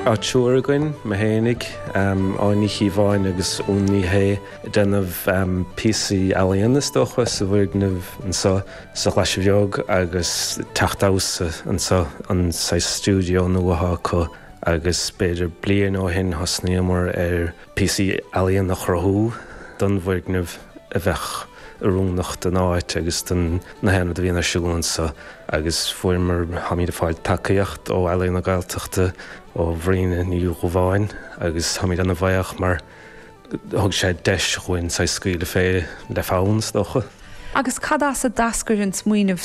Tá triúr againn, mé fhéinig, Áine Ní Chíobháin agus Úna Ní Shé, ag déanamh píosaí ealaíona is dócha sa bhfoirgneamh anseo sa Ghlaise Bheag agus teach damhsa anseo, an saghas stiúideo nua atá acu agus b'fhéidir bliain ó shin thosnaíomar ar píosaí ealaíon a chruthú don bhfoirgneamh a bheadh oiriúnach don áit agus don na haon rud a bhíonn ar siúl anseo agus fuaireamar, táimid ag fáil tacaíocht ó Ealaíon na Gaeltachta, ó Bhríona Ní Dhubháin agus táimid ana bhuíoch mar thug sé deis dhúinn saghas scaoileadh fé le fonn is dócha. Agus cad as a d'eascair an smaoineamh?